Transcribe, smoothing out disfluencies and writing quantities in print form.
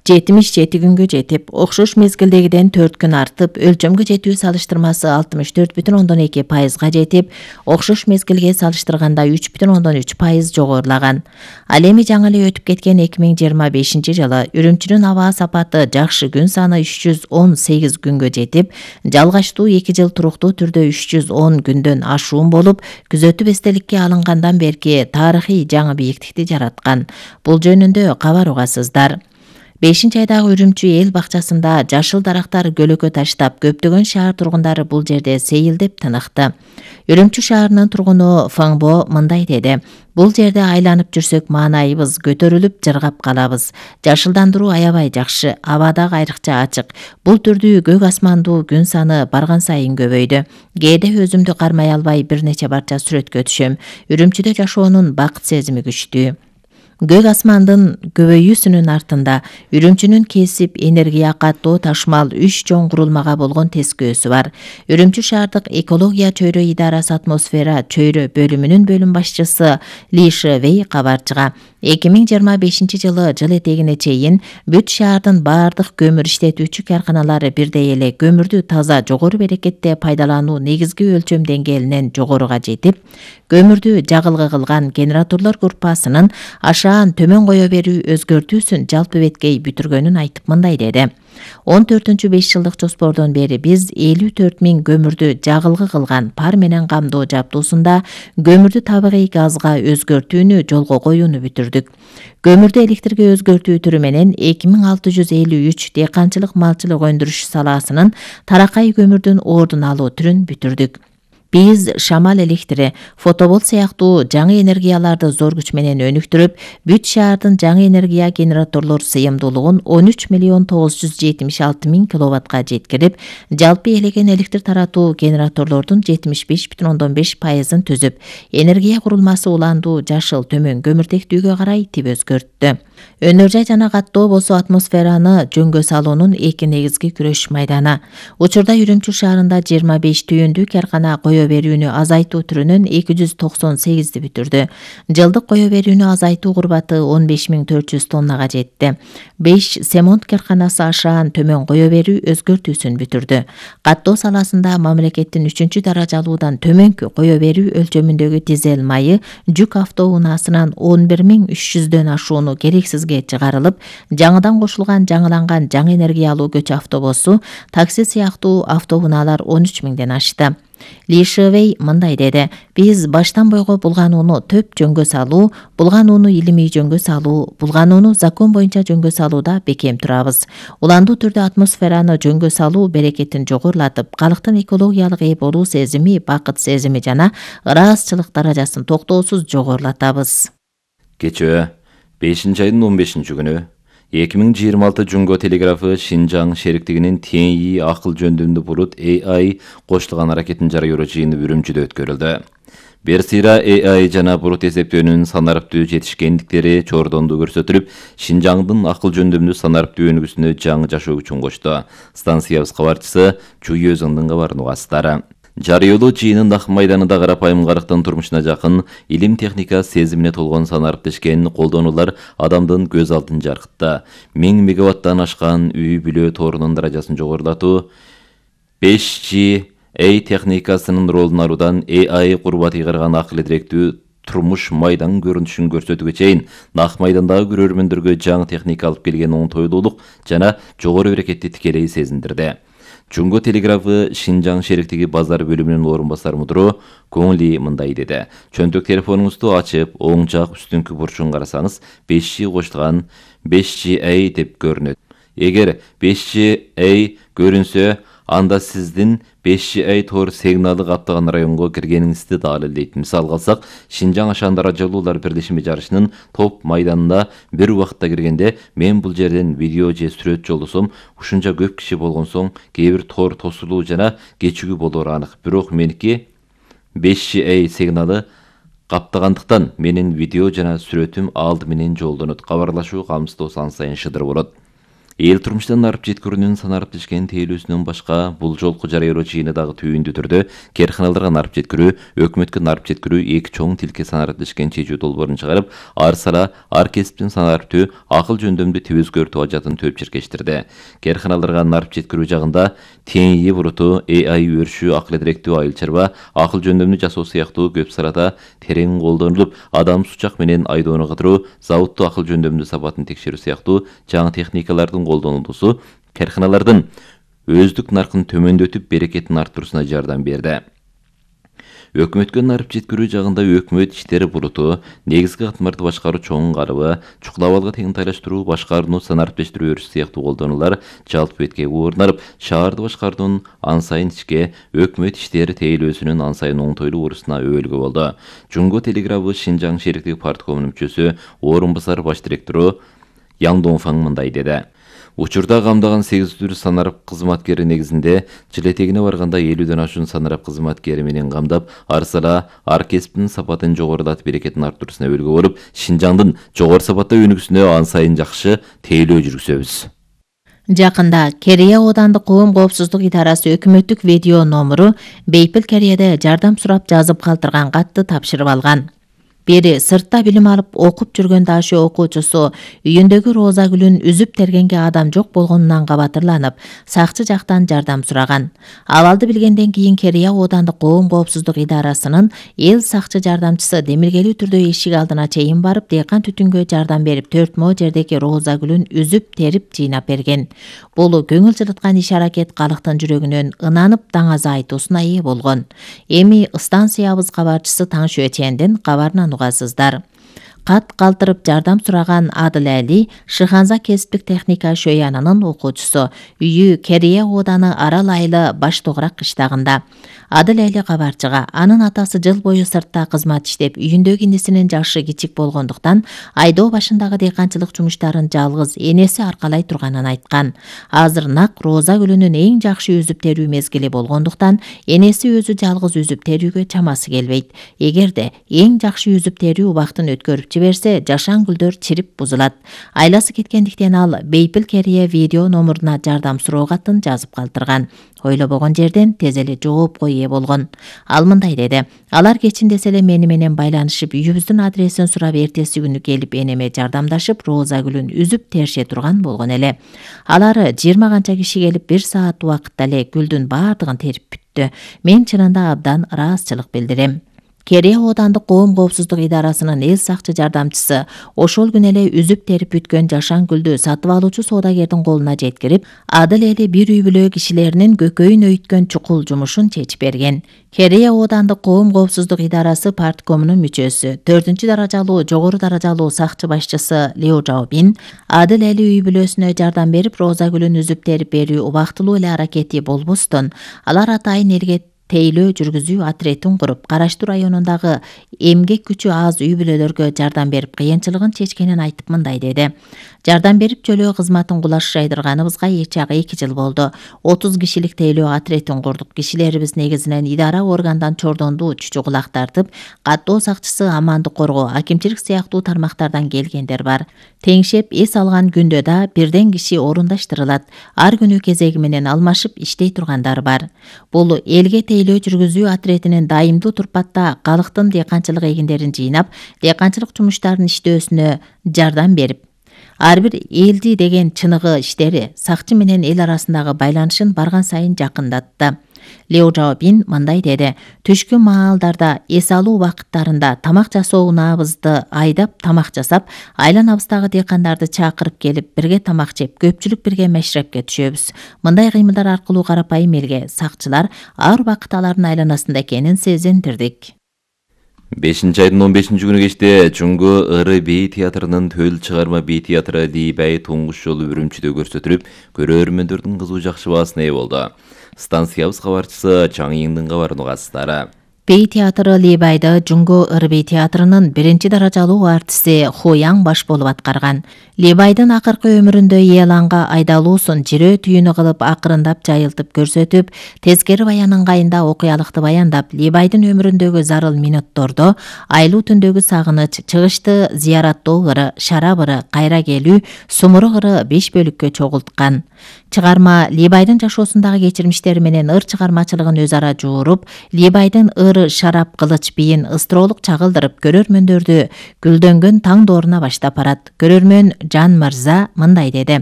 77 күнгө жетип, окшош мезгилдегиден 4 күн артып, өлчөмгө жетүү салыштырмасы 64,2%га жетип, окшош мезгилге салыштырганда 3,3% жогорулаган. Ал эми жаңы эле өтүп кеткен 2025-жылы Үрүмчүнүн аба сапаты жакшы күн саны 318 күнгө жетип, жалгачтуу 2 жыл туруктуу түрдө 310 күндөн ашуун болуп, күзөтүп эстеликке алынгандан берки тарыхый жаңы бийиктикти жараткан. Бул жөнүндө кабар угасыздар. 5-айдагы Үрүмчү эл бакчасында жашыл дарактар көлөкө таштап, көптөгөн шаар тургундары бул жерде сейилдеп тыныкты. Үрүмчү шаарынын тургуну Фаңбо мындай деди: "Бул жерде айланып жүрсөк маанайыбыз көтөрүлүп, жыргап калабыз. Жашылдандыруу аябай жакшы, аба дагы айрыкча ачык. Бул түрдүү көк асмандуу күн саны барган сайын көбөйдү. Кээде өзүмдү кармай албай бир нече барча сүрөткө түшөм. Үрүмчүдө жашоонун бакыт сезими күчтүү." Көк асмандын көбөйүүсүнүн артында Үрүмчүнүн кесип, энергия каттоо, ташмал 3 чоң курулмага болгон тескөөсү бар. Үрүмчү шаардык экология чөйрө идарасы атмосфера чөйрө бөлүмүнүн бөлүм башчысы Ли Шевей кабарчыга 2025-жылы жыл этегине чейин бүт шаардын баардык көмүр иштетүүчү карканалары бирдей эле көмүрдү таза жогору берекетте пайдалануу негизги өлчөм деңгээлинен жогоруга жетип, көмүрдү жагылгы кылган генераторлор группасынын ашаан төмөн кое берүү өзгөртүүсүн жалпы беткей бүтүргөнүн айтып мындай деди: 14-5 жылдык жоспордон бери биз 54 000 көмүрдү жагылгы кылган пар менен камдоо жабдуусунда көмүрдү табигый газга өзгөртүүнү жолго коюуну бүтүрдүк. Көмүрдү электрге өзгөртүү түрү менен 2653 дыйканчылык малчылык өндүрүш салаасынын таракай көмүрдүн ордун алуу түрүн бүтүрдүк. Биз шамал электри, фотобол сыяктуу жаңы энергияларды зор күч менен өнүктүрүп, бүт шаардын жаңы энергия генераторлор сыйымдуулугун 13 976 000 киловаттка жеткирип, жалпы элеген электр таратуу генераторлордун 75,5%-ын түзүп, энергия курулмасы уландуу жашыл төмөн көмүртектүүгө карай тип өзгөрттү. Өнөр жай жана каттоо болсо атмосфераны жөнгө салуунун эки негизги күрөш майданы. Учурда Үрүмчү шаарында 25 түйүндүү каркана кое берүүнү азайтуу түрүнөн 298 бүтүрдү. Жылдык кое берүүнү азайтуу курбаты 15 400 тоннага жетти. 5 семонт карканасы ашаан төмөн кое берүү өзгөртүүсүн бүтүрдү. Каттоо саласында мамлекеттин 3-даражалуудан төмөнкү кое берүү өлчөмүндөгү дизель майы жүк автоунаасынан 11 300дөн ашууну керексизге чыгарылып, жаңыдан кошулган жаңыланган жаңы энергиялуу көч автобусу, такси сыяктуу автоунаалар 13 000ден ашты. Ли Шевей мындай деди: "Биз баштан бойго булганууну төп жөнгө салуу, булганууну илимий жөнгө салуу, булганууну закон боюнча жөнгө салууда бекем турабыз. Уландуу түрдө атмосфераны жөнгө салуу берекетин жогорулатып, калктын экологиялык ээ болуу сезими, бакыт сезими жана ыраазычылык даражасын токтоосуз жогорулатабыз." Кечээ 5-айдын 15-күнү 2026 Жунго телеграфы Шинжаң шериктигинин TNI акыл жөндөмдүү булут AI кошулган аракетин жарыялоо жыйыны Үрүмчүдө өткөрүлдү. Бир сыйра AI жана булут эсептөөнүн санариптүү жетишкендиктери чордондуу көрсөтүлүп, Шинжаңдын акыл жөндөмдүү санариптүү өнүгүүсүнө жаңы жашоо күчүн кошту. Станциябыз кабарчысы Чуй Өзүңдүн кабарын угасыздар. Жарыялоо жыйынын Ак майданында карапайым карыктын турмушуна жакын, илим техника сезимине толгон санариптешкен колдонуулар адамдын көз алдын жаркытты. 1000 мегаваттан ашкан үй бүлө торунун даражасын жогорулатуу, 5G техникасынын ролун алуудан AI курбат ыйгарган акыл директүү турмуш майдан көрүнүшүн көрсөтүүгө чейин Ак майдандагы көрөрмөндөргө жаңы техника алып келген оңтойлуулук жана жогору берекетти тикелей сезиндирди. Жунго телеграфы Шинжаң шериктиги базар бөлүмүнүн орун басар мудуру Көңли мындай деди: "Чөнтөк телефонуңузду ачып, оң жак үстүңкү бурчун карасаңыз, 5G кошулган 5G деп көрүнөт. Эгер 5G көрүнсө, анда сиздин 5G тор сигналы каптаган районго киргениңизди далилдейт. Мисалга алсак, Шинжаң ашаан даражалуулар бирлешими жарышынын топ майданына бир убакытта киргенде, мен бул жерден видео же сүрөт жолдосом, ушунча көп киши болгон соң кээ бир тор тосулуу жана кечигүү болоору анык. Бирок меники 5G сигналы каптагандыктан менин видео жана сүрөтүм алды менен жолдонот. Кабарлашуу камсыздоо сан сайын шыдыр болот." Эл турмуштан арып жеткирүүнүн санарып тишкен тейлөөсүнөн башка бул жолку жарыялоо жыйыны дагы түйүндүү түрдө керканаларга нарып жеткирүү, өкмөткө нарып жеткирүү эки чоң тилке санарып тишкен чечүү долбоорун чыгарып, ар сара, ар кесиптин санарыптуу, акыл жөндөмдүү тип өзгөртүү ажатын төп чиркештирди. Керканаларга нарып жеткирүү жагында тең ии буруту, AI өршүү, акыл эдиректүү айыл чарба, акыл жөндөмдүү жасоо сыяктуу көп сарада терең колдонулуп, адам сучак менен айдоону кыдыруу, заводтуу акыл жөндөмдүү сапатын текшерүү сыяктуу жаңы техникалардын колдонулуусу керканалардын өздүк наркын төмөндөтүп, берекетин арттыруусуна жардам берди. Өкмөткө нарып жеткирүү жагында өкмөт иштери буруту, негизги катмарды башкаруу чоң карыбы, чукулабалга тең тайлаштыруу, башкарууну санариптештирүү өрүш сыяктуу колдонулар жалпы бетке орнап, шаарды башкаруунун ан сайын ичке, өкмөт иштери тейлөөсүнүн ан сайын оңтойлуу урусуна өбөлгө болду. Жунго телеграфы Шинжаң шериктик парткомунун мүчөсү, орун басар баш директору Яң Донфаң мындай деди. Учурда камдаган 800 санарып кызматкери негизинде жыл этегине барганда 50ден ашуун санарып кызматкери менен камдап, ар сара, ар кесиптин сапатын жогорулатып, берекетин арттыруусуна өбөлгө болуп, Шинжаңдын жогору сапаттуу өнүгүүсүнө ан сайын жакшы тейлөө жүргүзөбүз. Жакында Керия оодандык коом коопсуздук идарасы өкмөттүк видео номуру Бейпил Керияда жардам сурап жазып калтырган катты тапшырып алган. Бери сыртта билим алып окуп жүргөн дашы окуучусу үйүндөгү роза гүлүн үзүп тергенге адам жок болгонунан кабатырланып, сакчы жактан жардам сураган. Абалды билгенден кийин Керия оодандык коом коопсуздук идарасынын эл сакчы жардамчысы демилгелүү түрдө эшик алдына чейин барып, дыйкан түтүнгө жардам берип, 4 мо жердеги роза гүлүн үзүп терип жыйнап берген. Бул көңүл жылыткан иш-аракет калктын жүрөгүнөн ынанып даңаза айтуусуна ээ болгон. Эми станциябыз кабарчысы Таңшө Чендин кабарынан угасыздар. Кат калтырып жардам сураган Адыл Әли Шыханза кесиптик техника шөянынын окуучусу, үйү Керия ооданы Арал айылы Баш Тогурак кыштагында. Адыл Әли кабарчыга анын атасы жыл бою сыртта кызмат иштеп, үйүндөгү инисинин жашы кичик болгондуктан айдоо башындагы дыйканчылык жумуштарын жалгыз энеси аркалай турганын айткан. Азыр нак роза гүлүнүн эң жакшы үзүп терүү мезгили болгондуктан энеси өзү жалгыз үзүп терүүгө чамасы келбейт. Эгерде эң жакшы үзүп терүү убактын өткөрүп жиберсе, жашан гүлдөр чирип бузулат. Айласы кеткендиктен ал Бейпил Керия видео номуруна жардам суроо катын жазып калтырган. Ойлобогон жерден тез эле жоопко ээ болгон. Ал мындай деди: алар кечинде эле мени менен байланышып, үйүбүздүн адресин сурап, эртеси күнү келип энеме жардамдашып, роза гүлүн үзүп терше турган болгон эле. Алар 20 канча киши келип 1 саат убакытта эле гүлдүн баардыгын терип бүттү. Мен чынында абдан ыраазычылык билдирем. Керия оодандык коом коопсуздук идарасынын эл сакчы жардамчысы ошол күнү эле үзүп терип бүткөн жашан гүлдү сатып алуучу соодагердин колуна жеткирип, Адыл Эли бир үй бүлө кишилеринин көкөйүн өйткөн чукул жумушун чечип берген. Керия оодандык коом коопсуздук идарасы парткомунун мүчөсү, 4-даражалуу жогору даражалуу сакчы башчысы Лео Жаобин Адыл Эли үй бүлөсүнө жардам берип, роза гүлүн үзүп терип берүү убактылуу эле аракети болбостон, алар атайын элге тейлөө жүргүзүү отретин куруп, Караштуу районундагы эмгек күчү аз үй бүлөлөргө жардам берип, кыйынчылыгын чечкенин айтып мындай деди: жардам берип жөлөө кызматын кулаш жайдырганыбызга 2 жыл болду. 30 кишилик тейлөө отретин курдук. Кишилерибиз негизинен идара органдан чордондуу чүчү кулак тартып, каттоо сакчысы, амандык коргоо, акимчилик сыяктуу тармактардан келгендер бар. Теңшеп эс алган күндө да бирден киши орундаштырылат. Ар күнү кезеги менен алмашып иштей тургандар бар. Бул элге тейлөө жүргүзүү отретинин дайымдуу турпатта калктын дыйканчылык эгиндерин жыйнап, дыйканчылык жумуштарын иштөөсүнө жардам берип, ар бир элди деген чыныгы иштери сакчы менен эл арасындагы байланышын барган сайын жакындатты. Лео Жаобин мындай деди: түшкү маалдарда эс алуу убакыттарында тамак жасоо унаабызды айдап тамак жасап, айланабыздагы дыйкандарды чакырып келип бирге тамак жеп, көпчүлүк бирге мешрепке түшөбүз. Мындай кыймылдар аркылуу карапайым элге сакчылар ар убакыт алардын айланасында экенин сезиндирдик. 5-айдын 15-күнү кечте Жунго Ыры бей театрынын төл чыгарма бей театры Лийбай туңгуш жолу Үрүмчүдө көрсөтүлүп, көрөрмөндөрдүн кызуу жакшы баасына ээ болду. Станциябыз кабарчысы Чаңйыңдын кабарын угасыздар. Бей театры Либайда Жунго Ырбей театрынын 1-даражалуу артисти Хуяң баш болуп аткарган. Либайдын акыркы өмүрүндө Еланга айдалуусун жирөө түйүнү кылып акырындап жайылтып көрсөтүп, тескери баян ыңгайында окуялыкты баяндап, Либайдын өмүрүндөгү зарыл минуттордо айлуу түндөгү сагыныч, чыгышты зыяраттоо ыры, шарап ыры, кайра келүү, сумурук ыры 5 бөлүккө чогулткан. Чыгарма Либайдын жашоосундагы кечирмиштери менен ыр чыгармачылыгын өз ара жууруп, Либайдын ыр, шарап, кылыч бийин ыстыроолук чагылдырып, көрөрмөндөрдү гүлдөнгөн таң дооруна баштап барат. Көрөрмөн Жан Мырза мындай деди: